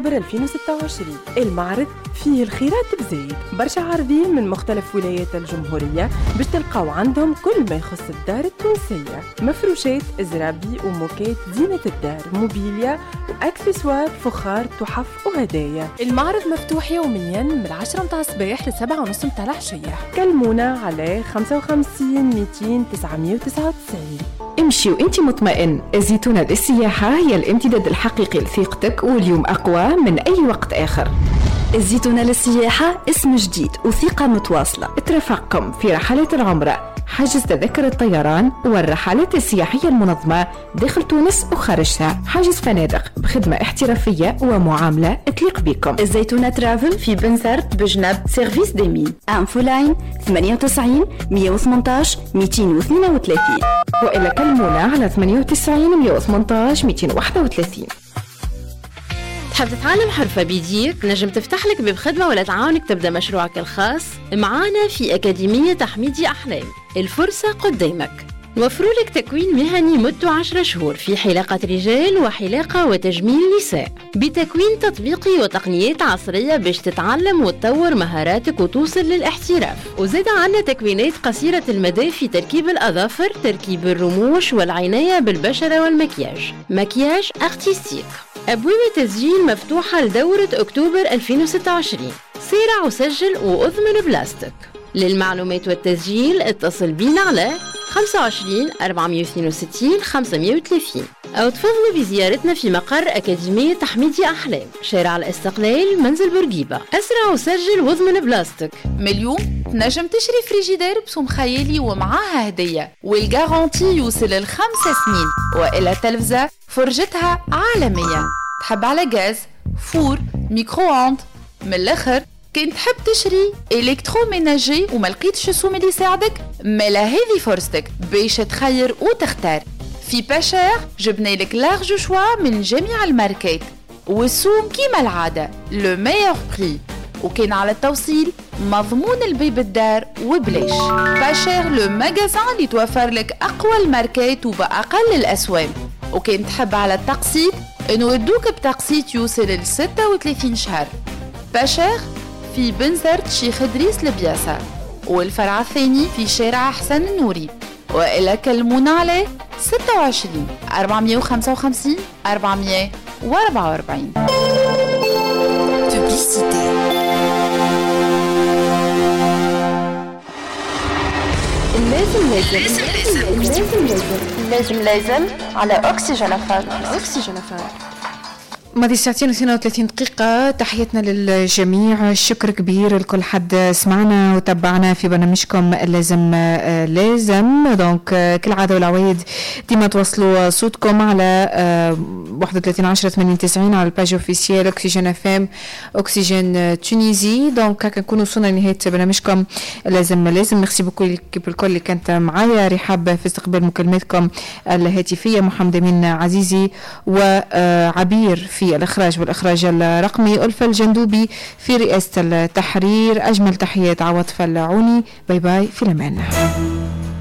2026. المعرض فيه الخيرات بزايد، برشا عارضين من مختلف ولايات الجمهورية باش تلقاو عندهم كل ما يخص الدار التونسية، مفروشات، زرابي وموكات، زينة الدار، موبيليا واكسسوار، فخار، تحف وهدايا. المعرض مفتوح يوميا من 10 متاع الصباح ل7:30 متاع العشية. كلمونا على 55 200 999. امشي وانت مطمئن، الزيتونة للسياحة هي الامتداد الحقيقي لثقتك، واليوم أقوى من أي وقت آخر. الزيتونة للسياحة اسم جديد وثقة متواصلة ترافقكم في رحلات العمرة، حجز تذاكر الطيران والرحلات السياحية المنظمة داخل تونس وخارجها، حجز فنادق بخدمة احترافية ومعاملة تليق بكم. الزيتونة ترافل في بنزرت بجنب service des mines. infoline 98 118 232، وإلا كلمونا على 98 118 231. تحب تتعلم حرفة بيديك؟ نجم تفتح لك باب خدمة ولا تعاونك تبدأ مشروعك الخاص؟ معانا في أكاديمية تحميدي أحلام، الفرصة قدامك. نوفروا لك تكوين مهني مدته 10 شهور في حلاقة رجال وحلاقة وتجميل نساء، بتكوين تطبيقي وتقنيات عصرية باش تتعلم وتطور مهاراتك وتوصل للاحتراف. وزاد عنا تكوينات قصيرة المدى في تركيب الأظافر، تركيب الرموش والعناية بالبشرة والمكياج، maquillage artistique. أبواب التسجيل مفتوحة لدورة أكتوبر 2026. سارع وسجل وأضمن بلاستك. للمعلومات والتسجيل اتصل بينا على 25 462 530 أو تفضلوا بزيارتنا في مقر أكاديمية تحميدي أحلام، شارع الاستقلال، منزل بورقيبة. أسرع وسجل واضمن بلاستك. مليون تنجم تشري فريجيدير بسوم خيالي ومعاها هدية، وال garantie يوصل ل5 سنين، وإلى تلفزة فرجتها عالمية. تحب على غاز، four، micro-ondes. من الآخر كان تحب تشري électroménager وما لقيتش السوم اللي يساعدك، مالا هذه فرصتك باش تخير وتختار. في pas cher جبنا لك large choix من جميع الماركات، والسوم كيما العادة le meilleur prix، وكان على التوصيل مضمون البيب الدار وبلاش. pas cher le magasin اللي توفر لك أقوى الماركات وبأقل الأسوام، وكان تحب على التقسيط نودوك بتقسيط يوصل ل 36 شهر. pas cher في بنزرت شيخ إدريس البياسة، والفرع الثاني في شارع حسن النوري، وإلا كلمونا على 26 455 444. Publicité. لازم لازم لازم لازم لازم على أكسجين أفام. أكسجين أفام. ماضي 2:32 دقيقة. تحياتنا للجميع، شكر كبير لكل حد سمعنا وتبعنا في برنامجكم لازم لازم. donc كالعادة والعوايد ديما توصلوا صوتكم على 31 10 80 90 على ال page officielle اكسجين FM اكسجين Tunisie. donc هكا نكونوا وصلنا لنهاية برنامجكم لازم لازم. merci beaucoup l'équipe الكل اللي كانت معايا، رحاب في استقبال مكالماتكم الهاتفية، محمد أمين عزيزي وعبير في الإخراج والإخراج الرقمي، ألفة الجندوبي في رئاسة التحرير. أجمل تحيات عواطف العوني. bye bye، في الأمان.